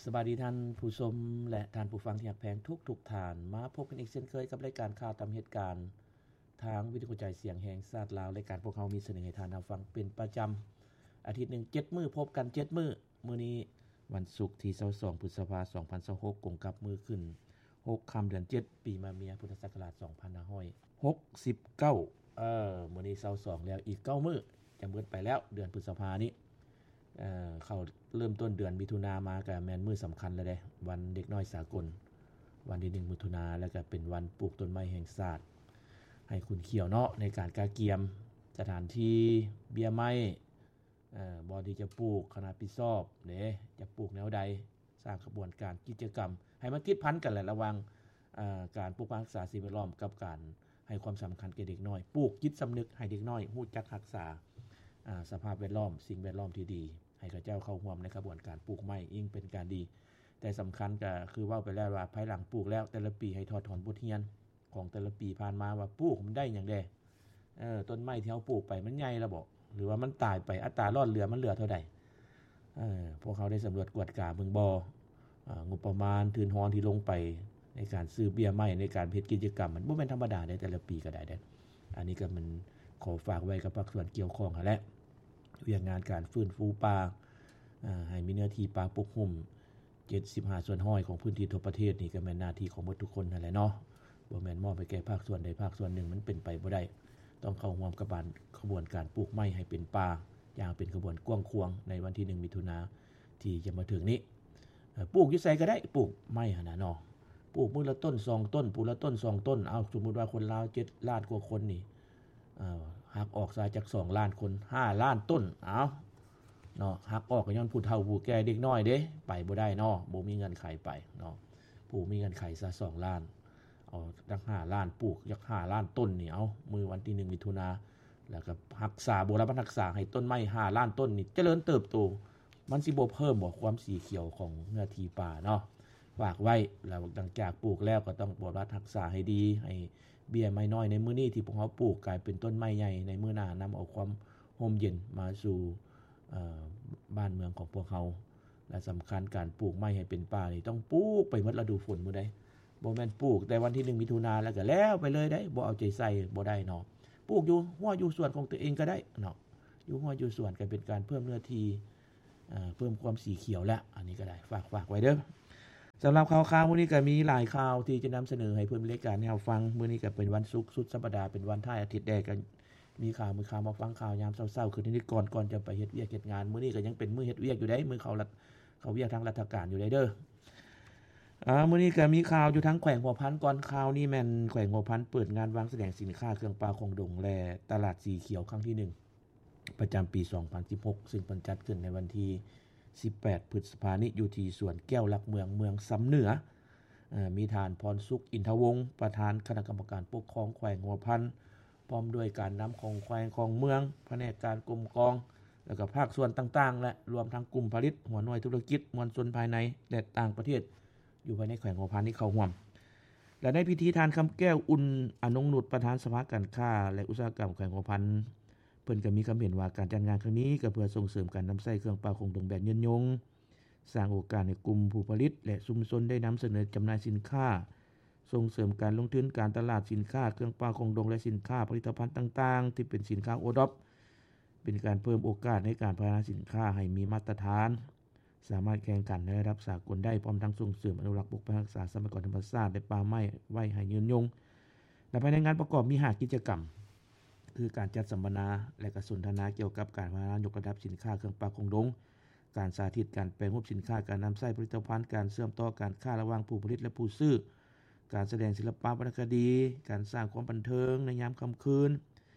ສະບາຍດີທ່ານຜູ້ຊົມ ແລະ ທ່ານຜູ້ຟັງທີ່ຮັກແພງທຸກໆທ່ານ. ມາພົບກັນອີກເຊັ່ນເຄີຍກັບລາຍການຂ່າວຕາມເຫດການ ທາງວິທະຍຸກະຈາຍສຽງແຫ່ງຊາດລາວ. ລາຍການພວກເຮົາມີສະເໜີໃຫ້ທ່ານຮັບຟັງເປັນປະຈຳ ອາທິດໜຶ່ງເຈັດມື້, ພົບກັນເຈັດມື້. ມື້ນີ້ວັນສຸກທີຊາວສອງ ພຶດສະພາ ສອງພັນຊາວຫົກ ກົງກັບມື້ຂຶ້ນຫົກຄ່ຳເດືອນເຈັດ ປີມະເມຍ ພຸດທະສັກກະລາດ ສອງພັນຫ້າຮ້ອຍຫົກສິບເກົ້າ. ເອີ ມື້ນີ້ຊາວສອງແລ້ວ ອີກເກົ້າມື້ຈະໝົດໄປແລ້ວເດືອນພຶດສະພານີ້. ເອີ ເຂົ້າເລີ່ມຕົ້ນເດືອນມິຖຸນາມາກໍແມ່ນມື້ສຳຄັນແລ້ວເດ້ ວັນເດັກນ້ອຍສາກົນ ວັນທີໜຶ່ງມິຖຸນາ ແລ້ວກໍເປັນວັນປູກຕົ້ນໄມ້ແຫ່ງຊາດ ໃຫ້ຂຸນຂຽວເນາະ ໃນການກະກຽມສະຖານທີ່ເບ້ຍໄມ້ ເອີ ບ່ອນທີ່ຈະປູກ ຄະນະຮັບຜິດຊອບເດ້ ຈະປູກແນວໃດ ສ້າງຂະບວນການກິດຈະກຳໃຫ້ມັນຕິດພັນກັນແຫຼະ ລະຫວ່າງ ເອີ ການປົກປັກຮັກສາສິ່ງແວດລ້ອມ ກັບການໃຫ້ຄວາມສຳຄັນແກ່ເດັກນ້ອຍ, ປູກຈິດສຳນຶກໃຫ້ເດັກນ້ອຍຮູ້ຈັກຮັກສາ ອາ ສະພາບແວດລ້ອມ, ສິ່ງແວດລ້ອມທີ່ດີ, ໃຫ້ເຂົາເຈົ້າເຂົ້າຮ່ວມໃນຂະບວນການປູກໄມ້ ຍິ່ງເປັນການດີ. ແຕ່ສຳຄັນກໍຄືເວົ້າໄປແລ້ວວ່າ ພາຍຫຼັງປູກແລ້ວ ແຕ່ລະປີໃຫ້ຖອດຖອນບົດຮຽນຂອງແຕ່ລະປີຜ່ານມາວ່າ ປູກມັນໄດ້ຫຍັງແດ່? ເອີ ຕົ້ນໄມ້ທີ່ເຮົາປູກໄປມັນໃຫຍ່ແລ້ວບໍ? ຫຼືວ່າມັນຕາຍໄປ? ອັດຕາລອດເຫຼືອມັນເຫຼືອເທົ່າໃດ? ເອີ ພວກເຮົາໄດ້ສຳຫຼວດກວດກາເບິ່ງບໍ່? ເອີ ງົບປະມານທຶນຮອນທີ່ລົງໄປໃນການຊື້ເບ້ຍໄມ້ ໃນການເຮັດກິດຈະກຳ ມັນບໍ່ແມ່ນທຳມະດາໃດ ແຕ່ລະປີກໍໄດ້ເດ້. ອັນນີ້ກໍແມ່ນຂໍຝາກໄວ້ກັບພາກສ່ວນກ່ຽວຂ້ອງຫັ້ນແຫຼະ ວຽກງານການຟື້ນຟູປ່າ ເອີ ໃຫ້ມີເນື້ອທີ່ປ່າປົກຫຸ້ມ ເຈັດສິບຫ້າສ່ວນຮ້ອຍຂອງພື້ນທີ່ທົ່ວປະເທດນີ້ ກໍແມ່ນໜ້າທີ່ຂອງໝົດທຸກຄົນຫັ້ນແຫຼະເນາະ, ບໍ່ແມ່ນມອບໃຫ້ແກ່ພາກສ່ວນໃດພາກສ່ວນໜຶ່ງ, ມັນເປັນໄປບໍ່ໄດ້. ຕ້ອງເຂົ້າຮ່ວມກັບການ ຂະບວນການປູກໄມ້ໃຫ້ເປັນປ່າ ຢ່າງເປັນຂະບວນກວ້າງຂວາງໃນວັນທີໜຶ່ງມິຖຸນາທີ່ຈະມາເຖິງນີ້. ເອີ ປູກຢູ່ໃສກໍໄດ້ ປູກໄມ້ຫັ້ນນະເນາະ, ປູກມື້ລະຕົ້ນສອງຕົ້ນ ປູກລະຕົ້ນສອງຕົ້ນ. ເອົາ ສົມມຸດວ່າຄົນລາວເຈັດລ້ານກວ່າຄົນນີ້ ເອີ ຫັກອອກຊະຈັກສອງລ້ານຄົນ ຫ້າລ້ານຕົ້ນ ເອົາ ເນາະ, ຫັກອອກກໍຍ້ອນຜູ້ເຖົ້າຜູ້ແກ່ເດັກນ້ອຍເດ້ ໄປບໍ່ໄດ້ເນາະ, ບໍ່ມີເງື່ອນໄຂໄປເນາະ. ຜູ້ມີເງື່ອນໄຂຊະສອງລ້ານ ເອົາຈັກຫ້າລ້ານ ປູກຈັກຫ້າລ້ານຕົ້ນນີ້ ເອົາ ມື້ວັນທີໜຶ່ງມິຖຸນາ ແລ້ວກໍຮັກສາ ບົວລະບັດຮັກສາໃຫ້ຕົ້ນໄມ້ຫ້າລ້ານຕົ້ນນີ້ຈະເລີນເຕີບໂຕ, ມັນຊິບໍ່ເພີ່ມບໍ່ຄວາມສີຂຽວຂອງເນື້ອທີ່ປ່າເນາະ? ຝາກໄວ້ ແລ້ວຫຼັງຈາກປູກແລ້ວກໍຕ້ອງບົວລະບັດຮັກສາໃຫ້ດີ ໃຫ້ເບ້ຍໄມ້ນ້ອຍໃນມື້ນີ້ທີ່ພວກເຮົາປູກກາຍເປັນຕົ້ນໄມ້ໃຫຍ່ໃນມື້ໜ້າ, ນຳເອົາຄວາມຮົ່ມເຢັນມາສູ່ ເອີ ບ້ານເມືອງຂອງພວກເຮົາ. ແລະ ສຳຄັນການປູກໄມ້ໃຫ້ເປັນປ່ານີ້ ຕ້ອງປູກໄປໝົດລະດູຝົນພຸ້ນໃດ໋, ບໍ່ແມ່ນປູກແຕ່ວັນທີໜຶ່ງມິຖຸນາແລ້ວກໍແລ້ວໄປເລີຍໄດ໋, ບໍ່ເອົາໃຈໃສ່ບໍ່ໄດ້ເນາະ. ປູກຢູ່ຮົ້ວຢູ່ສວນຂອງຕົວເອງກໍໄດ້ເນາະ, ຢູ່ຮົ້ວຢູ່ສວນກໍເປັນການເພີ່ມເນື້ອທີ່ ເອີ ເພີ່ມຄວາມສີຂຽວແຫຼະ. ອັນນີ້ກໍໄດ້ ຝາກ ຝາກໄວ້ເດີ້. ສຳລັບຂ່າວໆມື້ນີ້ກໍມີຫຼາຍຂ່າວທີ່ຈະນຳສະເໜີໃຫ້ເພື່ອນລາຍການໄດ້ຮັບຟັງ. ມື້ນີ້ກໍເປັນວັນສຸກສຸດສັບປະດາ ເປັນວັນທ້າຍອາທິດແດ່, ກໍມີຂ່າວ ມີຂ່າວມາຟັງຂ່າວຍາມເຊົ້າໆ ຄືນນິດກ່ອນ ກ່ອນຈະໄປເຮັດວຽກເຮັດງານ. ມື້ນີ້ກໍຍັງເປັນມື້ເຮັດວຽກຢູ່ເດ້, ມື້ເຂົ້າລັດ ເຂົ້າວຽກທາງລັດຖະການຢູ່ໄດ໋ເດີ້. ອາ ມື້ນີ້ກໍມີຂ່າວຢູ່ທາງແຂວງຫົວພັນກ່ອນ. ຂ່າວນີ້ແມ່ນແຂວງຫົວພັນເປີດງານວາງສະແດງສິນຄ້າເຄື່ອງປ່າຂອງດົງ ແລະ ຕະຫຼາດສີຂຽວຄັ້ງທີໜຶ່ງ ປະຈຳປີສອງພັນສິບຫົກ ຊຶ່ງເພິ່ນຈັດຂຶ້ນໃນວັນທີສິບແປດ ພຶດສະພານີ້ ຢູ່ທີ່ສວນແກ້ວຫຼັກເມືອງ ເມືອງຊຳເໜືອ. ເອີ ມີທ່ານ ພອນສຸກ ອິນທະວົງ ປະທານຄະນະກຳມະການປົກຄອງແຂວງຫົວພັນ ພ້ອມດ້ວຍການນຳຂອງແຂວງຂອງເມືອງ, ພະແນກການກົມກອງ ແລ້ວກໍພາກສ່ວນຕ່າງໆ ແລະ ລວມທັງກຸ່ມຜະລິດ, ຫົວໜ່ວຍທຸລະກິດ, ມວນຊົນພາຍໃນ ແລະ ຕ່າງປະເທດ ຢູ່ພາຍໃນແຂວງຫົວພັນນີ້ເຂົ້າຮ່ວມ. ແລະ ໃນພິທີ ທ່ານ ຄຳແກ້ວ ອຸ່ນອະນົງນຸດ ປະທານສະພາການຄ້າ ແລະ ອຸດສາຫະກຳແຂວງຫົວພັນ ເພິ່ນກໍມີຄຳເຫັນວ່າ ການຈັດງານຄັ້ງນີ້ກໍເພື່ອສົ່ງເສີມການນຳໃຊ້ເຄື່ອງປ່າຂອງດົງແບບຍືນຍົງ, ສ້າງໂອກາດໃຫ້ກຸ່ມຜູ້ຜະລິດ ແລະ ຊຸມຊົນໄດ້ນຳສະເໜີຈຳໜ່າຍສິນຄ້າ, ສົ່ງເສີມການລົງທຶນການຕະຫຼາດສິນຄ້າເຄື່ອງປ່າຂອງດົງ ແລະ ສິນຄ້າຜະລິດຕະພັນຕ່າງໆ ທີ່ເປັນສິນຄ້າໂອດອບ, ເປັນການເພີ່ມໂອກາດໃນການພັດທະນາສິນຄ້າໃຫ້ມີມາດຕະຖານ, ສາມາດແຂ່ງຂັນໃນລະດັບສາກົນໄດ້, ພ້ອມທັງສົ່ງເສີມອະນຸລັກປົກປັກຮັກສາຊັບພະຍາກອນທຳມະຊາດ ແລະ ປ່າໄມ້ໄວ້ໃຫ້ຍືນຍົງ. ແລະ ພາຍໃນງານປະກອບມີຫ້າກິດຈະກຳ ຄືການຈັດສຳມະນາ ແລະ ກະສົນທະນາກ່ຽວກັບການພັດທະນາຍົກລະດັບສິນຄ້າເຄື່ອງປ່າຂອງດົງ, ການສາທິດການແປຮູບສິນຄ້າ, ການນຳໃຊ້ຜະລິດຕະພັນ, ການເຊື່ອມຕໍ່ການຄ້າລະຫວ່າງຜູ້ຜະລິດ ແລະ ຜູ້ຊື້, ການສະແດງສິລະປະວັນນະຄະດີ, ການສ້າງຄວາມບັນເທີງໃນຍາມຄ່ຳຄືນ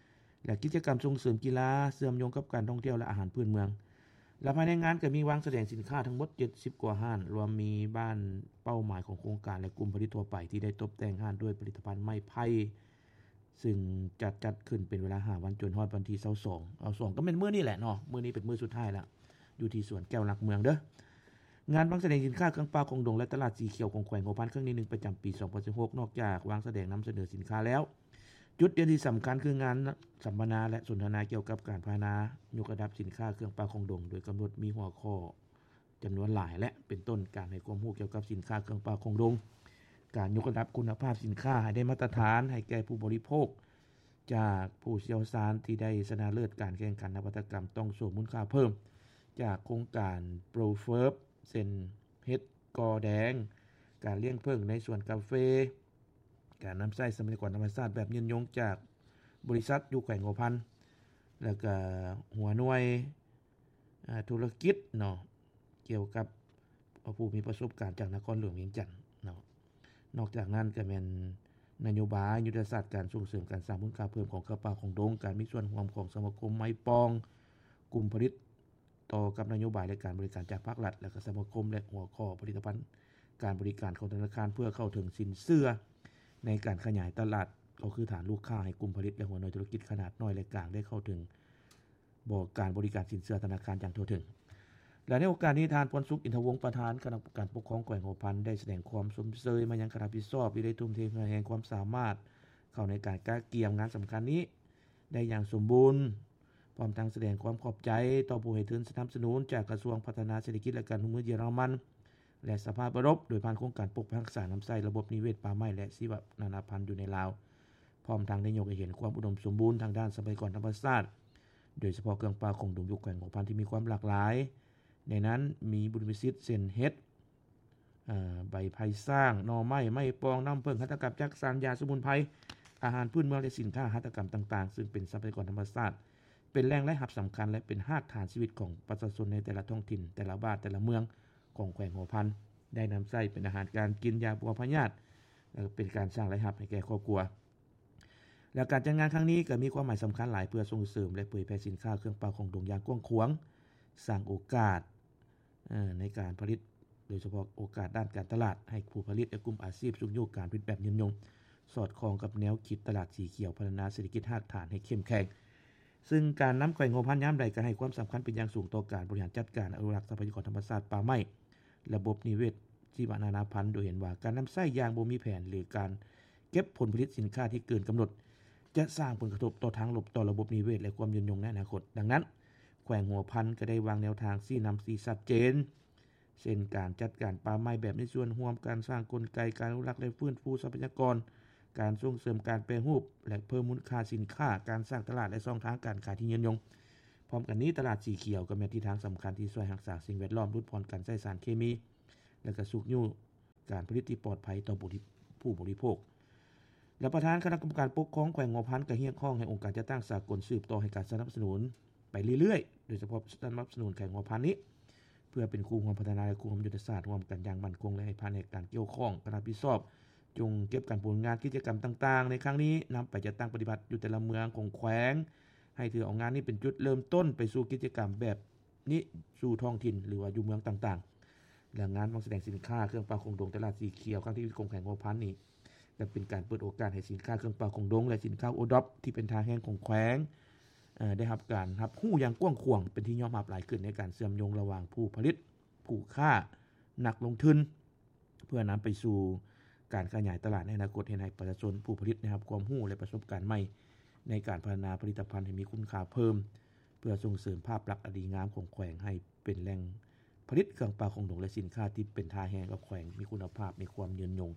ແລະ ກິດຈະກຳສົ່ງເສີມກິລາ ເຊື່ອມໂຍງກັບການທ່ອງທ່ຽວ ແລະ ອາຫານພື້ນເມືອງ. ແລະ ພາຍໃນງານກໍມີວາງສະແດງສິນຄ້າທັງໝົດເຈັດສິບກວ່າຮ້ານ, ລວມມີບ້ານເປົ້າໝາຍຂອງໂຄງການ ແລະ ກຸ່ມຜະລິດທົ່ວໄປ ທີ່ໄດ້ຕົບແຕ່ງຮ້ານດ້ວຍຜະລິດຕະພັນໄມ້ໄຜ່, ຊຶ່ງຈະຈັດຂຶ້ນເປັນເວລາຫ້າວັນ ຈົນຮອດວັນທີຊາວສອງ ເອົາ ສອງ ກໍແມ່ນມື້ນີ້ແຫຼະເນາະ, ມື້ນີ້ເປັນມື້ສຸດທ້າຍແລ້ວ ຢູ່ທີ່ສວນແກ້ວຫຼັກເມືອງເດີ້. ງານວາງສະແດງສິນຄ້າເຄື່ອງປ່າຂອງດົງ ແລະ ຕະຫຼາດສີຂຽວຂອງແຂວງຫົວພັນ ຄັ້ງທີໜຶ່ງ ປະຈຳປີສອງພັນສິບຫົກ ນອກຈາກວາງສະແດງນຳສະເໜີສິນຄ້າແລ້ວ, ຈຸດເດັ່ນທີ່ສຳຄັນຄືງານສຳມະນາ ແລະ ສົນທະນາກ່ຽວກັບການພັດທະນາຍົກລະດັບສິນຄ້າເຄື່ອງປ່າຂອງດົງ, ໂດຍກຳນົດມີຫົວຂໍ້ ຈຳນວນຫຼາຍ ແລະ ເປັນຕົ້ນການໃຫ້ຄວາມຮູ້ກ່ຽວກັບສິນຄ້າເຄື່ອງປ່າຂອງດົງ, ການຍົກລະດັບຄຸນນະພາບສິນຄ້າໃຫ້ໄດ້ມາດຕະຖານໃຫ້ແກ່ຜູ້ບໍລິໂພກ ຈາກຜູ້ຊ່ຽວຊານທີ່ໄດ້ຊະນະເລີດການແຂ່ງຂັນນະວັດຕະກຳ ຕ້ອງໂຊມູນຄ່າເພີ່ມ ຈາກໂຄງການ ProFerb ເຊັ່ນ ເຫັດກໍແດງ, ການລ້ຽງເຜິ້ງໃນສວນກາເຟ, ການນຳໃຊ້ຊັບພະຍາກອນທຳມະຊາດແບບຍືນຍົງຈາກບໍລິສັດຢູ່ແຂວງຫົວພັນ ແລ້ວກະຫົວໜ່ວຍ ອາ ທຸລະກິດເນາະ ກ່ຽວກັບຜູ້ມີປະສົບການຈາກນະຄອນຫຼວງວຽງຈັນເນາະ. ນອກຈາກນັ້ນກະແມ່ນນະໂຍບາຍຍຸດທະສາດການສົ່ງເສີມການສ້າງມູນຄ່າເພີ່ມຂອງເຄື່ອງປ່າຂອງດົງ, ການມີສ່ວນຮ່ວມຂອງສະມາຄົມໄມ້ປ່ອງ, ກຸ່ມຜະລິດ ຕໍ່ກັບນະໂຍບາຍ ແລະ ການບໍລິການຈາກພາກລັດ ແລະ ກະສະມາຄົມ ແລະ ຫົວຂໍ້ຜະລິດຕະພັນການບໍລິການຂອງທະນາຄານ ເພື່ອເຂົ້າເຖິງສິນເຊື່ອໃນການຂະຫຍາຍຕະຫຼາດ ກໍຄືຖານລູກຄ້າໃຫ້ກຸ່ມຜະລິດ ແລະ ຫົວໜ່ວຍທຸລະກິດຂະໜາດນ້ອຍ ແລະ ກາງ ໄດ້ເຂົ້າເຖິງບໍ ການບໍລິການສິນເຊື່ອທະນາຄານຢ່າງທົ່ວເຖິງ. ແລະ ໃນໂອກາດນີ້ ທ່ານ ພອນສຸກ ອິນທະວົງ ປະທານຄະນະກຳມະການປົກຄອງແຂວງຫົວພັນ ໄດ້ສະແດງຄວາມຊົມເຊີຍມາຍັງຄະນະຮັບຜິດຊອບທີ່ໄດ້ທຸ່ມເທເຫື່ອແຮງຄວາມສາມາດເຂົ້າໃນການກະກຽມງານສຳຄັນນີ້ ໄດ້ຢ່າງສົມບູນ, ພ້ອມທັງສະແດງຄວາມຂອບໃຈຕໍ່ຜູ້ໃຫ້ທຶນສະໜັບສະໜູນຈາກກະຊວງພັດທະນາເສດຖະກິດ ແລະ ການຮ່ວມມືເຢຍລະມັນ ແລະ ສະພາບເອີຣົບ ໂດຍຜ່ານໂຄງການປົກຮັກສານ້ຳໃຊ້, ລະບົບນິເວດ, ປ່າໄມ້ ແລະ ຊີວະນານາພັນຢູ່ໃນລາວ, ພ້ອມທັງໄດ້ຍົກໃຫ້ເຫັນຄວາມອຸດົມສົມບູນທາງດ້ານຊັບພະຍາກອນທຳມະຊາດ, ໂດຍສະເພາະເຄື່ອງປ່າຂອງດົງຢູ່ແຂວງຫົວພັນທີ່ມີຄວາມຫຼາກຫຼາຍ, ໃນນັ້ນມີບຸນວິສິດເຊັ່ນເຫັດ, ເອີ ໃບໄຜ່ຊ້າງ, ໜໍ່ໄມ້, ໄມ້ປ່ອງ, ນ້ຳເຜິ້ງ, ຫັດຖະກຳຈັກສານ, ຢາສະໝຸນໄພ, ອາຫານພື້ນເມືອງ ແລະ ສິນຄ້າຫັດຖະກຳຕ່າງໆ ຊຶ່ງເປັນຊັບພະຍາກອນທຳມະຊາດ, ເປັນແຫຼ່ງລາຍຮັບສຳຄັນ ແລະ ເປັນຮາກຖານຊີວິດຂອງປະຊາຊົນໃນແຕ່ລະທ້ອງຖິ່ນ, ແຕ່ລະບ້ານ, ແຕ່ລະເມືອງຂອງແຂວງຫົວພັນ, ໄດ້ນຳໃຊ້ເປັນອາຫານການກິນ, ຢາປົວພະຍາດ, ແລະ ເປັນການສ້າງລາຍຮັບໃຫ້ແກ່ຄອບຄົວ. ແລະ ການຈັດງານຄັ້ງນີ້ກໍມີຄວາມໝາຍສຳຄັນຫຼາຍ ເພື່ອສົ່ງເສີມ ແລະ ເຜີຍແຜ່ສິນຄ້າເຄື່ອງປ່າຂອງດົງຢ່າງກວ້າງຂວາງ, ສ້າງໂອກາດ ເອີ ໃນການຜະລິດ, ໂດຍສະເພາະໂອກາດດ້ານການຕະຫຼາດໃຫ້ຜູ້ຜະລິດ ແລະ ກຸ່ມອາຊີບຊຸກຍູ້ການຜະລິດແບບຍືນຍົງ, ສອດຄ່ອງກັບແນວຄິດຕະຫຼາດສີຂຽວ, ພັດທະນາເສດຖະກິດຮາກຖານໃຫ້ເຂັ້ມແຂງ. ຊຶ່ງການນຳແຂວງຫົວພັນຍາມໃດກໍໃຫ້ຄວາມສຳຄັນເປັນຢ່າງສູງຕໍ່ການບໍລິຫານຈັດການອະນຸລັກຊັບພະຍາກອນທຳມະຊາດ, ປ່າໄມ້, ລະບົບນິເວດ, ຊີວະນານາພັນ, ໂດຍເຫັນວ່າການນຳໃຊ້ຢ່າງບໍ່ມີແຜນ ຫຼື ການເກັບຜົນຜະລິດສິນຄ້າທີ່ເກີນກຳນົດ ຈະສ້າງຜົນກະທົບຕໍ່ທາງລົບຕໍ່ລະບົບນິເວດ ແລະ ຄວາມຍືນຍົງໃນອະນາຄົດ. ດັ່ງນັ້ນ, ແຂວງຫົວພັນກໍໄດ້ວາງແນວທາງຊີ້ນຳທີ່ຊັດເຈນ, ເຊັ່ນ ການຈັດການປ່າໄມ້ແບບມີສ່ວນຮ່ວມ, ການສ້າງກົນໄກການອະນຸລັກ ແລະ ຟື້ນຟູຊັບພະຍາກອນ, ການສົ່ງເສີມການແປຮູບ ແລະ ເພີ່ມມູນຄ່າສິນຄ້າ, ການສ້າງຕະຫຼາດ ແລະ ຊ່ອງທາງການຂາຍທີ່ຍືນຍົງ. ພ້ອມກັນນີ້, ຕະຫຼາດສີຂຽວກໍແມ່ນທິດທາງສຳຄັນທີ່ຊ່ວຍຮັກສາສິ່ງແວດລ້ອມ, ຫຼຸດຜ່ອນການໃຊ້ສານເຄມີ ແລະ ກະຊຸກຍູ້ການຜະລິດທີ່ປອດໄພຕໍ່ຜູ້ບໍລິ ຜູ້ບໍລິໂພກ. ແລະ ປະທານຄະນະກຳມະການປົກຄອງແຂວງຫົວພັນກໍຮຽກຮ້ອງໃຫ້ອົງການຈັດຕັ້ງສາກົນສືບຕໍ່ໃຫ້ການສະໜັບສະໜູນໄປເລື້ອຍໆ, ໂດຍສະເພາະສະໜັບສະໜູນແຂວງຫົວພັນນີ້ ເພື່ອເປັນຄູ່ຮ່ວມພັດທະນາ ແລະ ຄູ່ຮ່ວມຍຸດທະສາດຮ່ວມກັນຢ່າງໝັ້ນຄົງ ແລະ ໃຫ້ພະແນກການກ່ຽວຂ້ອງ ຄະນະຮັບຜິດຊອບ ຈົ່ງເກັບການປະສານງານກິດຈະກຳຕ່າງໆໃນຄັ້ງນີ້ ນຳໄປຈັດຕັ້ງປະຕິບັດຢູ່ແຕ່ລະເມືອງຂອງແຂວງ ໃຫ້ຖືເອົາງານນີ້ເປັນຈຸດເລີ່ມຕົ້ນໄປສູ່ກິດຈະກຳແບບ ນີ້ສູ່ທ້ອງຖິ່ນ ຫຼືວ່າຢູ່ເມືອງຕ່າງໆ. ແລະ ງານວາງສະແດງສິນຄ້າເຄື່ອງປ່າຂອງດົງຕະຫຼາດສີຂຽວຄັ້ງທີ ຂອງແຂວງຫົວພັນນີ້ ກໍເປັນການເປີດໂອກາດໃຫ້ສິນຄ້າເຄື່ອງປ່າຂອງດົງ ແລະ ສິນຄ້າໂອດອບທີ່ເປັນທ່າແຮງຂອງແຂວງ ເອີ ໄດ້ຮັບການຮັບຮູ້ຢ່າງກວ້າງຂວາງ ເປັນທີ່ຍອມຮັບຫຼາຍຂຶ້ນໃນການເຊື່ອມໂຍງລະຫວ່າງຜູ້ຜະລິດ, ຜູ້ຄ້າ, ນັກລົງທຶນ ເພື່ອນຳໄປສູ່ການຂະຫຍາຍຕະຫຼາດໃນອະນາຄົດ, ເຮັດໃຫ້ປະຊາຊົນຜູ້ຜະລິດໄດ້ຮັບຄວາມຮູ້ ແລະ ປະສົບການໃໝ່ໃນການພັດທະນາຜະລິດຕະພັນໃຫ້ມີຄຸນຄ່າເພີ່ມ, ເພື່ອສົ່ງເສີມພາບລັກອັນດີງາມຂອງແຂວງໃຫ້ເປັນແຫຼ່ງຜະລິດເຄື່ອງປ່າຂອງດົງ ແລະ ສິນຄ້າທີ່ເປັນທ່າແຮງຂອງແຂວງ, ມີຄຸນນະພາບ, ມີຄວາມຍືນຍົງ.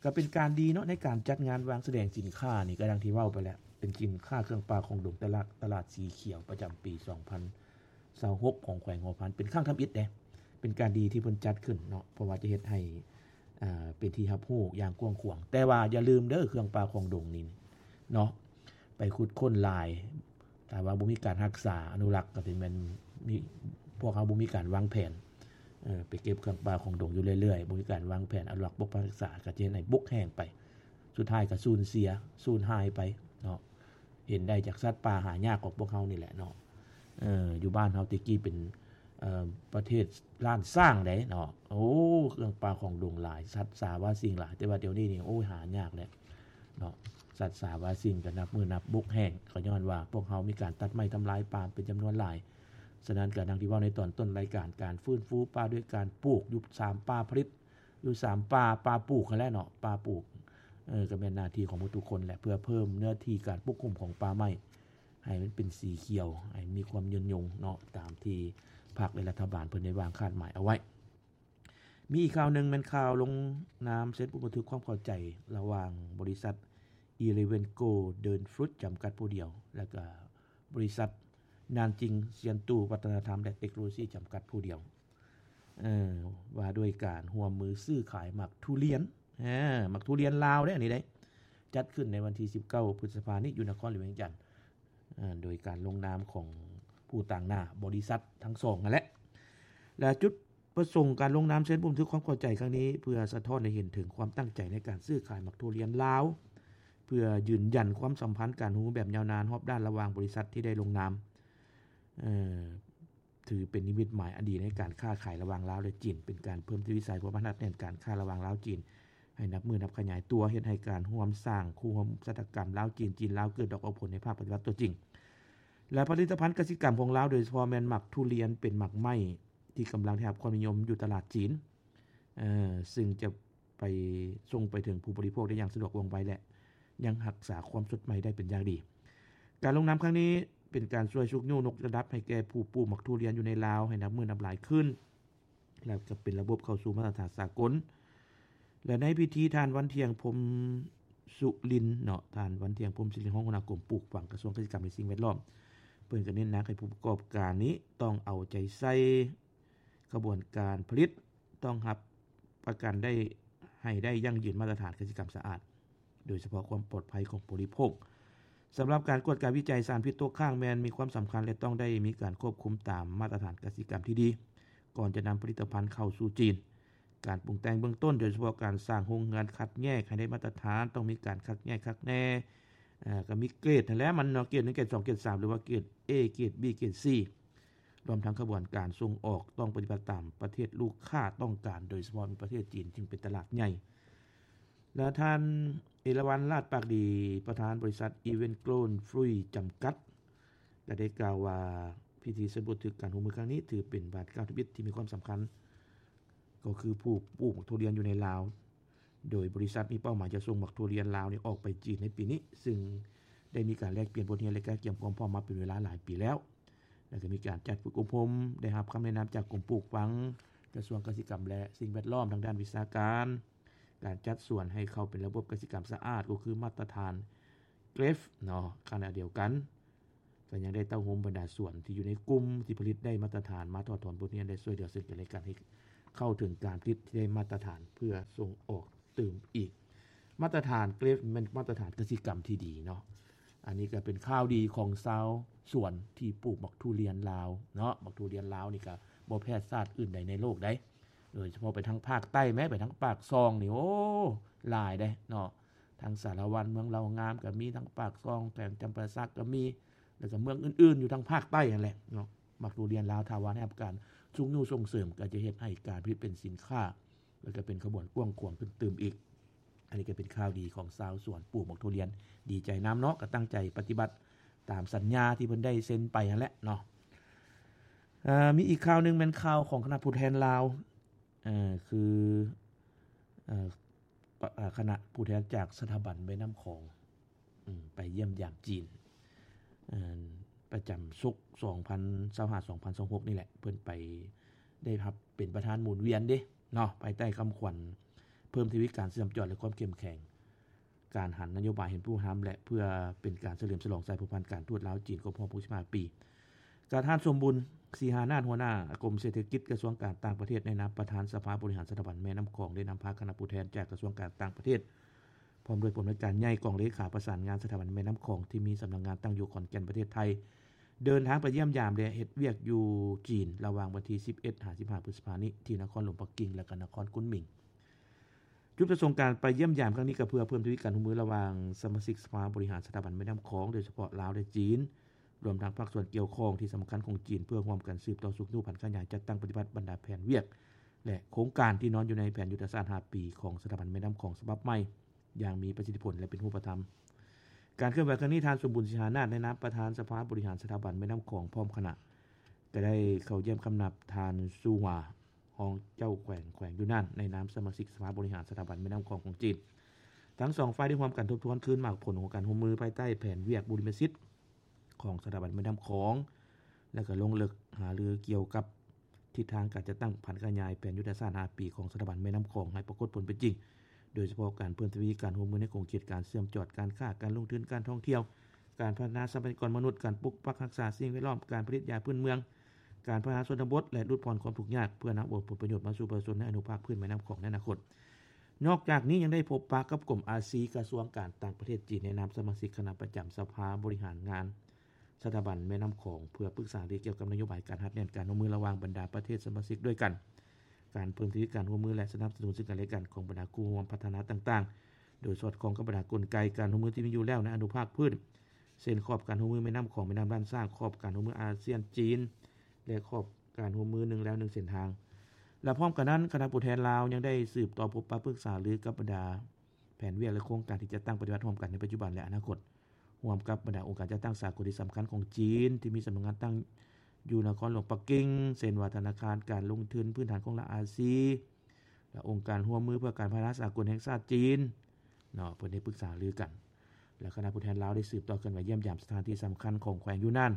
ກໍເປັນການດີເນາະ ໃນການຈັດງານວາງສະແດງສິນຄ້ານີ້, ກໍດັ່ງທີ່ເວົ້າໄປແລ້ວ, ເປັນສິນຄ້າເຄື່ອງປ່າຂອງດົງຕະຫຼາດ, ຕະຫຼາດສີຂຽວປະຈຳປີສອງພັນ ຊາວຫົກຂອງແຂວງຫົວພັນ ເປັນຄັ້ງທຳອິດເດ້ ເປັນການດີທີ່ເພິ່ນຈັດຂຶ້ນເນາະ ເພາະວ່າຈະເຮັດໃຫ້ ເປັນທີ່ຮັບຮູ້ຢ່າງກວ້າງຂວາງ. ແຕ່ວ່າຢ່າລືມເດີ ເຄື່ອງປ່າຂອງດົງນີ້ເນາະ ໄປຂຸດຄົ້ນຫຼາຍ ຖ້າວ່າບໍ່ມີການຮັກສາອະນຸລັກ ກໍຖືແມ່ນມີ ພວກເຮົາບໍ່ມີການວາງແຜນ ເອີ ໄປເກັບເຄື່ອງປ່າຂອງດົງຢູ່ເລື້ອຍໆ ບໍ່ມີການວາງແຜນອະນຸລັກປົກປັກຮັກສາ ກໍຈະເຮັດໃຫ້ບົກແຫ້ງໄປ ສຸດທ້າຍກໍສູນເສຍ ສູນຫາຍໄປເນາະ. ເຫັນໄດ້ຈາກສັດປ່າຫາຍາກຂອງພວກເຮົານີ້ແຫຼະເນາະ. ເອີ ຢູ່ບ້ານເຮົາແຕ່ກີ້ເປັນ ເອີ ປະເທດລ້ານຊ້າງໃດ໋ເນາະ. ໂອ້ ເຄື່ອງປ່າຂອງດົງຫຼາຍ ສັດສາວາສິ່ງຫຼາຍ ແຕ່ວ່າດຽວນີ້ນີ້ ໂອ້ຍ ຫາຍາກແລ້ວເນາະ. ສັດສາວາສິ່ງກໍນັບມື້ນັບບົກແຫ້ງ ກໍຍ້ອນວ່າພວກເຮົາມີການຕັດໄມ້ທຳລາຍປ່າເປັນຈຳນວນຫຼາຍ. ສະນັ້ນກໍດັ່ງທີ່ເວົ້າໃນຕອນຕົ້ນລາຍການ ການຟື້ນຟູປ່າດ້ວຍການປູກຢູ່ສາມປ່າຜະລິດ ຢູ່ສາມປ່າ ປ່າປູກຫັ້ນແຫຼະເນາະ ປ່າປູກ ເອີ ກໍແມ່ນໜ້າທີ່ຂອງໝົດທຸກຄົນແຫຼະ ເພື່ອເພີ່ມເນື້ອທີ່ການປົກຄຸມຂອງປ່າໄມ້ ໃຫ້ມັນເປັນສີຂຽວ ໃຫ້ມີຄວາມຍືນຍົງເນາະ ຕາມທີ່ ພັກ ແລະ ລັດຖະບານເພິ່ນໄດ້ວາງຄາດໝາຍເອົາໄວ້. ມີອີກຂ່າວໜຶ່ງແມ່ນຂ່າວລົງນາມເຊັນບົດບັນທຶກຄວາມເຂົ້າໃຈລະຫວ່າງບໍລິສັດ Eleven Golden Fruit ຈຳກັດຜູ້ດຽວ ແລະ ກະບໍລິສັດ Nanjing Siantu ວັດທະນະທຳ ແລະ ເຕັກໂນໂລຊີ ຈຳກັດຜູ້ດຽວ ເອີ ວ່າດ້ວຍການຮ່ວມມືຊື້ຂາຍໝາກທຸລຽນ ເອີ ໝາກທຸລຽນລາວເດ້ ອັນນີ້ເດ້ ຈັດຂຶ້ນໃນວັນທີສິບເກົ້າ ພຶດສະພານີ້ ຢູ່ນະຄອນຫຼວງວຽງຈັນ ເອີ ໂດຍການລົງນາມຂອງຜູ້ຕາງໜ້າບໍລິສັດທັງສອງຫັ້ນແຫຼະ ແລະ ຈຸດປະສົງການລົງນາມເຊັນບົດບັນທຶກຄວາມເຂົ້າໃຈຄັ້ງນີ້ ເພື່ອສະທ້ອນໃຫ້ເຫັນເຖິງຄວາມຕັ້ງໃຈໃນການຊື້ຂາຍໝາກທຸລຽນລາວ ເພື່ອຢືນຢັນຄວາມສຳພັນການຮ່ວມມືແບບຍາວນານຮອບດ້ານລະຫວ່າງບໍລິສັດທີ່ໄດ້ລົງນາມ ເອີ ຖືເປັນນິມິດໝາຍອັນດີໃນການຄ້າຂາຍລະຫວ່າງລາວ ແລະ ຈີນ, ເປັນການເພີ່ມທະວີສາຍຄວາມພັນທະແໜ້ນການຄ້າລະຫວ່າງລາວ-ຈີນ ໃຫ້ນັບມື້ນັບຂະຫຍາຍຕົວ, ເຮັດໃຫ້ການຮ່ວມສ້າງຄູ່ຮ່ວມຊະຕາກຳລາວ-ຈີນ, ຈີນ-ລາວ ເກີດດອກອອກຜົນໃນພາກປະຕິບັດຕົວຈິງ ແລະ ຜະລິດຕະພັນກະສິກຳຂອງລາວ, ໂດຍສະເພາະແມ່ນໝາກທຸລຽນ ເປັນໝາກໄມ້ທີ່ກຳລັງໄດ້ຮັບຄວາມນິຍົມຢູ່ຕະຫຼາດຈີນ, ເຊິ່ງຈະ ໄປ ສົ່ງໄປເຖິງຜູ້ບໍລິໂພກໄດ້ຢ່າງສະດວກວ່ອງໄວ ແລະ ຍັງຮັກສາຄວາມສົດໃໝ່ໄດ້ເປັນຢ່າງດີ. ການລົງນາມຄັ້ງນີ້ເປັນການຊ່ວຍຊຸກຍູ້ຍົກລະດັບໃຫ້ແກ່ຜູ້ປູກໝາກທຸລຽນຢູ່ໃນລາວໃຫ້ນັບມື້ນັບຫຼາຍຂຶ້ນ ແລະ ກໍເປັນລະບົບເຂົ້າສູ່ມາດຕະຖານສາກົນ. ແລະ ໃນພິທີ ທ່ານ ວັນທຽງ ພົມສຸລິນ ເນາະ, ທ່ານ ວັນທຽງ ພົມສຸລິນ ຮອງຫົວໜ້າກົມປູກຝັງ ກະຊວງກະສິກຳ ແລະ ສິ່ງແວດລ້ອມ ເພິ່ນກໍເນັ້ນໜັກໃຫ້ຜູ້ປະກອບການນີ້ຕ້ອງເອົາໃຈໃສ່ຂະບວນການຜະລິດ ຕ້ອງຮັບປະກັນໄດ້ ໃຫ້ໄດ້ຢັ້ງຢືນມາດຕະຖານກະສິກຳສະອາດ, ໂດຍສະເພາະຄວາມປອດໄພຂອງຜູ້ບໍລິໂພກ. ສຳລັບການກວດກາວິໄຈສານພິດຕົກຄ້າງແມ່ນມີຄວາມສຳຄັນ ແລະ ຕ້ອງໄດ້ມີການຄວບຄຸມຕາມມາດຕະຖານກະສິກຳທີ່ດີ ກ່ອນຈະນຳຜະລິດຕະພັນເຂົ້າສູ່ຈີນ. ການປຸງແຕ່ງເບື້ອງຕົ້ນ, ໂດຍສະເພາະການສ້າງໂຮງງານຄັດແຍກໃຫ້ໄດ້ມາດຕະຖານ, ຕ້ອງມີການຄັດແຍກຄັກແນ່, ເອີ ກໍມີເກຣດຫັ້ນແຫຼະ ມັນເນາະ, ເກຣດໜຶ່ງ, ເກຣດສອງ, ເກຣດສາມ ຫຼືວ່າເກຣດ A ເກຣດ B ເກຣດ C ລວມທັງຂະບວນການສົ່ງອອກຕ້ອງປະຕິບັດຕາມປະເທດລູກຄ້າຕ້ອງການ, ໂດຍສະເພາະແມ່ນປະເທດຈີນ ຊຶ່ງເປັນຕະຫຼາດໃຫຍ່. ແລະ ທ່ານ ເອລາວັນ ລາດປາກດີ ປະທານບໍລິສັດ Eleven Golden Fruit ຈຳກັດ ກໍໄດ້ກ່າວວ່າ ພິທີເຊັນບົດບັນທຶກການຮ່ວມມືຄັ້ງນີ້ ຖືເປັນບາດກ້າວທຳອິດທີ່ມີຄວາມສຳຄັນ ກໍຄືຜູ້ປູກໝາກທຸລຽນຢູ່ໃນລາວ ໂດຍບໍລິສັດມີເປົ້າໝາຍຈະສົ່ງໝາກທຸລຽນລາວນີ້ອອກໄປຈີນໃນປີນີ້, ຊຶ່ງໄດ້ມີການແລກປ່ຽນບົດຮຽນ ແລະ ກະກຽມຄວາມພ້ອມມາເປັນເວລາຫຼາຍປີແລ້ວ, ແລະ ກໍມີການຈັດຝຶກອົບຮົມ, ໄດ້ຮັບຄຳແນະນຳຈາກກົມປູກຝັງ, ກະຊວງກະສິກຳ ແລະ ສິ່ງແວດລ້ອມທາງດ້ານວິຊາການ, ການຈັດສວນໃຫ້ເຂົ້າເປັນລະບົບກະສິກຳສະອາດ ກໍຄືມາດຕະຖານ GRAFE ເນາະ, ຂະນະດຽວກັນ ກໍຍັງໄດ້ເຕົ້າໂຮມບັນດາສວນທີ່ຢູ່ໃນກຸ່ມທີ່ຜະລິດໄດ້ມາດຕະຖານ ມາຖອດຖອນບົດຮຽນ ແລະ ຊ່ວຍເຫຼືອເຊິ່ງກັນ ແລະ ກັນ ໃຫ້ເຂົ້າເຖິງການຜະລິດທີ່ໄດ້ມາດຕະຖານ ເພື່ອສົ່ງອອກຕື່ມອີກ. ມາດຕະຖານ GRAFE ແມ່ນມາດຕະຖານກະສິກຳທີ່ດີເນາະ. ອັນນີ້ກໍເປັນຂ່າວດີຂອງຊາວສວນທີ່ປູກໝາກທຸລຽນລາວເນາະ. ໝາກທຸລຽນລາວນີ້ກໍບໍ່ແພ້ຊາດອື່ນໃດໃນໂລກໃດ, ໂດຍສະເພາະໄປທາງພາກໃຕ້ແມ້, ໄປທາງປາກຊ່ອງນີ້ ໂອ້ ຫຼາຍເດ້ເນາະ. ທັງສາລະວັນ, ເມືອງເລົ່າງາມກໍມີ, ທັງປາກຊ່ອງ, ແຂວງຈຳປາສັກກໍມີ, ແລ້ວກໍເມືອງອື່ນໆຢູ່ທາງພາກໃຕ້ຫັ້ນແຫຼະເນາະ. ໝາກທຸລຽນລາວ ຖ້າວ່າໄດ້ຮັບການຊຸກຍູ້ສົ່ງເສີມ ກໍຈະເຮັດໃຫ້ການຜະລິດເປັນສິນຄ້າ ແລ້ວກໍເປັນຂະບວນກວ້າງຂວາງຂຶ້ນຕື່ມອີກ. ອັນນີ້ກໍເປັນຂ່າວດີຂອງຊາວສວນປູກໝາກທຸລຽນ, ດີໃຈນຳເນາະ, ກໍຕັ້ງໃຈປະຕິບັດຕາມສັນຍາທີ່ເພິ່ນໄດ້ເຊັນໄປຫັ້ນແຫຼະເນາະ. ເອີ ມີອີກຂ່າວໜຶ່ງແມ່ນຂ່າວຂອງຄະນະຜູ້ແທນລາວ, ເອີ ຄື ເອີ ປະ ເອີ ຄະນະຜູ້ແທນຈາກສະຖາບັນແມ່ນ້ຳຂອງ ອືມ ໄປຢ້ຽມຢາມຈີນ ເອີ ປະຈຳສົກ ສອງພັນຊາວຫ້າ ສອງພັນຊາວຫົກ ນີ້ແຫຼະ. ເພິ່ນໄປໄດ້ຮັບເປັນປະທານໝູນວຽນເດ້ເນາະ, ພາຍໃຕ້ຄຳຂວັນເພີ່ມທະວີການເຊື່ອມຈອດ ແລະ ຄວາມເຂັ້ມແຂງ ການຫັນນະໂຍບາຍເຫັນຜູ້ນຳ ແລະ ເພື່ອເປັນການສະເຫຼີມສະຫຼອງສາຍພົວພັນການທູດລາວ-ຈີນ ຄົບຮອບ ຫົກສິບຫ້າ ປີ. ກະທ່ານ ສົມບຸນ ສີຫານາດ ຫົວໜ້າກົມເສດຖະກິດ ກະຊວງການຕ່າງປະເທດ ໃນນາມປະທານສະພາບໍລິຫານສະຖາບັນແມ່ນ້ຳຂອງ ໄດ້ນຳພາຄະນະຜູ້ແທນຈາກກະຊວງການຕ່າງປະເທດ ພ້ອມດ້ວຍຜູ້ອຳນວຍການໃຫຍ່ ກອງເລຂາປະສານງານສະຖາບັນແມ່ນ້ຳຂອງ ທີ່ມີສຳນັກງານຕັ້ງຢູ່ຂອນແກ່ນ ປະເທດໄທ ເດີນທາງໄປຢ້ຽມຢາມ ແລະ ເຮັດວຽກຢູ່ຈີນ ລະຫວ່າງວັນທີສິບເອັດ ຫາ ສິບຫ້າ ພຶດສະພານີ້ ທີ່ນະຄອນຫຼວງປັກກິ່ງ ແລະ ກະນະຄອນກຸນໝິງ. ຈຸດປະສົງການໄປຢ້ຽມຢາມຄັ້ງນີ້ ກໍເພື່ອເພີ່ມທະວີການຮ່ວມມືລະຫວ່າງສະມາຊິກສະພາບໍລິຫານສະຖາບັນແມ່ນ້ຳຂອງ ໂດຍສະເພາະລາວ ແລະ ຈີນ, ລວມທັງພາກສ່ວນກ່ຽວຂ້ອງທີ່ສຳຄັນຂອງຈີນ ເພື່ອຮ່ວມກັນສືບຕໍ່ຊຸກຍູ້ຜັນຂະຫຍາຍຈັດຕັ້ງປະຕິບັດບັນດາແຜນວຽກ ແລະ ໂຄງການທີ່ນອນຢູ່ໃນແຜນຍຸດທະສາດຫ້າປີຂອງສະຖາບັນແມ່ນ້ຳຂອງສະບັບໃໝ່ ຢ່າງມີປະສິດທິຜົນ ແລະ ເປັນຮູບປະທຳ. ການເຄື່ອນໄຫວຄັ້ງນີ້ ທ່ານ ສົມບູນ ສີຫານາດ ໃນນາມປະທານສະພາບໍລິຫານສະຖາບັນແມ່ນ້ຳຂອງ ພ້ອມຄະນະ ກໍໄດ້ເຂົ້າຢ້ຽມຄຳນັບທ່ານ ຊູຫວາ ຮອງເຈົ້າແຂວງ ແຂວງຢູນານ ໃນນາມສະມາຊິກສະພາບໍລິຫານສະຖາບັນແມ່ນ້ຳຂອງຂອງຈີນ. ທັງສອງຝ່າຍໄດ້ຮ່ວມກັນທົບທວນຄືນໝາກຜົນຂອງການຮ່ວມມືພາຍໃຕ້ແຜນວຽກບຸລິມະສິດຂອງສະຖາບັນແມ່ນ້ຳຂອງ ແລະ ກໍລົງເລິກຫາລືກ່ຽວກັບ ທິດທາງການຈັດຕັ້ງຜັນຂະຫຍາຍແຜນຍຸດທະສາດຫ້າປີຂອງສະຖາບັນແມ່ນ້ຳຂອງໃຫ້ປາກົດຜົນເປັນຈິງ, ໂດຍສະເພາະການເພີ່ມທະວີການຮ່ວມມືໃນຂົງເຂດການເຊື່ອມຈອດການຄ້າ, ການລົງທຶນ, ການທ່ອງທ່ຽວ, ການພັດທະນາຊັບພະຍາກອນມະນຸດ, ການປົກປັກຮັກສາສິ່ງແວດລ້ອມ, ການຜະລິດຢາພື້ນເມືອງ, ການພັດທະນາຊົນນະບົດ ແລະ ຫຼຸດຜ່ອນຄວາມທຸກຍາກ ເພື່ອນຳເອົາຜົນປະໂຫຍດມາສູ່ປະຊາຊົນໃນອະນຸພາກພື້ນແມ່ນ້ຳຂອງໃນອະນາຄົດ. ນອກຈາກນີ້ຍັງໄດ້ພົບປະກັບກົມອາຊີ ກະຊວງການຕ່າງປະເທດຈີນ ໃນນາມສະມາຊິກຄະນະປະຈຳສະພາບໍລິຫານງານ ສະຖາບັນແມ່ນ້ຳຂອງ ເພື່ອປຶກສາຫາລືກ່ຽວກັບນະໂຍບາຍການຮັດແໜ້ນການຮ່ວມມືລະຫວ່າງບັນດາປະເທດສະມາຊິກດ້ວຍກັນ, ການເພີ່ມທະວີການຮ່ວມມື ແລະ ສະໜັບສະໜູນເຊິ່ງກັນແລະກັນຂອງບັນດາຄູ່ຮ່ວມພັດທະນາຕ່າງໆ ໂດຍສອດຄ່ອງກັບບັນດາກົນໄກການຮ່ວມມືທີ່ມີຢູ່ແລ້ວໃນອະນຸພາກພື້ນ ເຊັ່ນ ຂອບການຮ່ວມມືແມ່ນ້ຳຂອງ, ແມ່ນ້ຳລ້ານຊ້າງ, ຂອບການຮ່ວມມືອາຊຽນ-ຈີນ ແລະ ຂອບການຮ່ວມມືໜຶ່ງແລວໜຶ່ງເສັ້ນທາງ. ແລະ ພ້ອມກັນນັ້ນ, ຄະນະຜູ້ແທນລາວຍັງໄດ້ສືບຕໍ່ພົບປະປຶກສາລືກັບບັນດາ ແຜນວຽກ ແລະ ໂຄງການທີ່ຈັດຕັ້ງປະຕິບັດຮ່ວມກັນໃນປັດຈຸບັນ ແລະ ອະນາຄົດ, ຮ່ວມກັບບັນດາອົງການຈັດຕັ້ງສາກົນທີ່ສຳຄັນຂອງຈີນ ທີ່ມີສຳນັກງານຕັ້ງຢູ່ນະຄອນຫຼວງປັກກິ່ງ, ເຊັ່ນວ່າ ທະນາຄານການລົງທຶນພື້ນຖານຂອງລັດອາຊີ ແລະ ອົງການຮ່ວມມືເພື່ອການພັດທະນາສາກົນແຫ່ງຊາດຈີນເນາະ, ເພິ່ນໄດ້ປຶກສາຫາລືກັນ. ແລະ ຄະນະຜູ້ແທນລາວໄດ້ສືບຕໍ່ເຄື່ອນໄຫວຢ້ຽມຢາມສະຖານທີ່ສຳຄັນຂອງແຂວງຢູນານ,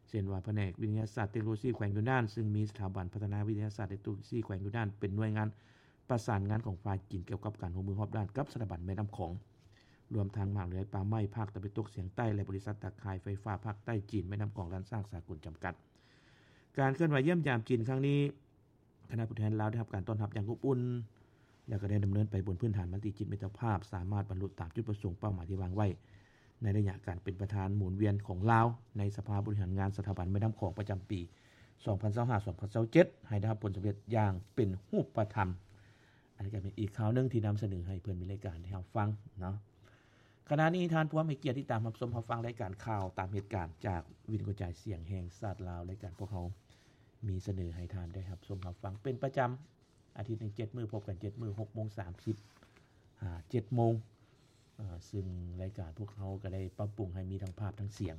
ເຊັ່ນວ່າ ພະແນກວິທະຍາສາດເຕັກໂນໂລຊີແຂວງຢູນານ, ຊຶ່ງມີສະຖາບັນພັດທະນາວິທະຍາສາດເຕັກໂນໂລຊີແຂວງຢູນານເປັນໜ່ວຍງານປະສານງານຂອງຝ່າຍຈີນ ກ່ຽວກັບການຮ່ວມມືຮອບດ້ານກັບສະຖາບັນແມ່ນ້ຳຂອງ, ລວມທັງມະຫາວິທະຍາໄລປ່າໄມ້ພາກຕາເວັນຕົກສຽງໃຕ້ ແລະ ບໍລິສັດຕາຂ່າຍໄຟຟ້າພາກໃຕ້ຈີນແມ່ນ້ຳຂອງລ້ານຊ້າງສາກົນຈຳກັດ. ການເຄື່ອນໄຫວຢ້ຽມຢາມຈີນຄັ້ງນີ້, ຄະນະຜູ້ແທນລາວໄດ້ຮັບການຕ້ອນຮັບຢ່າງອົບອຸ່ນ ແລະ ກໍໄດ້ດຳເນີນໄປບົນພື້ນຖານມະຕິຈິດມິດຕະພາບ, ສາມາດບັນລຸຕາມຈຸດປະສົງເປົ້າໝາຍທີ່ວາງໄວ້ ໃນໄລຍະການເປັນປະທານໝູນວຽນຂອງລາວໃນສະພາບໍລິຫານງານສະຖາບັນແມ່ນ້ຳຂອງປະຈຳປີ ສອງພັນຊາວຫ້າ ສອງພັນຊາວເຈັດ ໃຫ້ໄດ້ຮັບຜົນສຳເລັດຢ່າງເປັນຮູບປະທຳ. ອັນນີ້ກໍເປັນອີກຂ່າວໜຶ່ງທີ່ນຳສະເໜີໃຫ້ເພື່ອນມິດລາຍການໄດ້ຮັບຟັງເນາະ. ຂະນະນີ້ທ່ານຜູ້ຮັບໃຫ້ກຽດຕິດຕາມຮັບຊົມຮັບຟັງລາຍການຂ່າວຕາມເຫດການຈາກວິທະຍຸກະຈາຍສຽງແຫ່ງຊາດລາວ. ລາຍການພວກເຮົາມີສະເໜີໃຫ້ທ່ານໄດ້ຮັບຊົມຮັບຟັງເປັນປະຈຳ ອາທິດໜຶ່ງເຈັດມື້ ພົບກັນເຈັດມື້ ຫົກໂມງສາມສິບຫາເຈັດໂມງ. ເອີ ຊຶ່ງລາຍການພວກເຮົາກໍໄດ້ປັບປຸງໃຫ້ມີທັງພາບທັງສຽງ.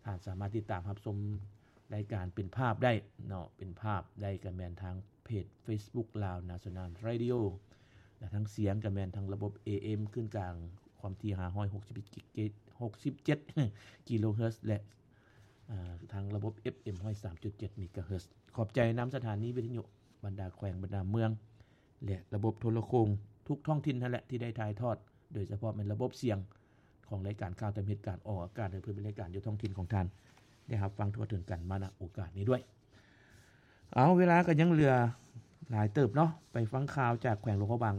ທ່ານສາມາດຕິດຕາມຮັບຊົມລາຍການເປັນພາບໄດ້ເນາະ, ເປັນພາບໄດ້ກໍແມ່ນທາງເພຈ Facebook Lao National Radio ແລະ ທາງສຽງກໍແມ່ນທາງລະບົບ ເອເອັມ ຄື້ນກາງຄວາມຖີ່ ຫ້າຮ້ອຍຫົກສິບເຈັດ ກິໂລເຮີດ ແລະ ທາງລະບົບ ເອັຟເອັມ ຮ້ອຍສາມຈຸດເຈັດ ເມກາເຮີດ. ຂອບໃຈນຳສະຖານີວິທະຍຸ ບັນດາແຂວງ ບັນດາເມືອງ ແລະ ລະບົບໂທລະໂຄ່ງທຸກທ້ອງຖິ່ນຫັ້ນແຫຼະ ທີ່ໄດ້ຖ່າຍທອດ ໂດຍສະເພາະແມ່ນລະບົບສຽງຂອງລາຍການຂ່າວຕາມເຫດການ ອອກອາກາດໃຫ້ເພື່ອນມິດລາຍການຢູ່ທ້ອງຖິ່ນຂອງທ່ານ ໄດ້ຮັບຟັງທົ່ວເຖິງກັນມາ ນະ ໂອກາດນີ້ດ້ວຍ. ເອົາ ເວລາກໍຍັງເຫຼືອຫຼາຍເຕີບເນາະ, ໄປຟັງຂ່າວຈາກແຂວງຫຼວງພະບາງ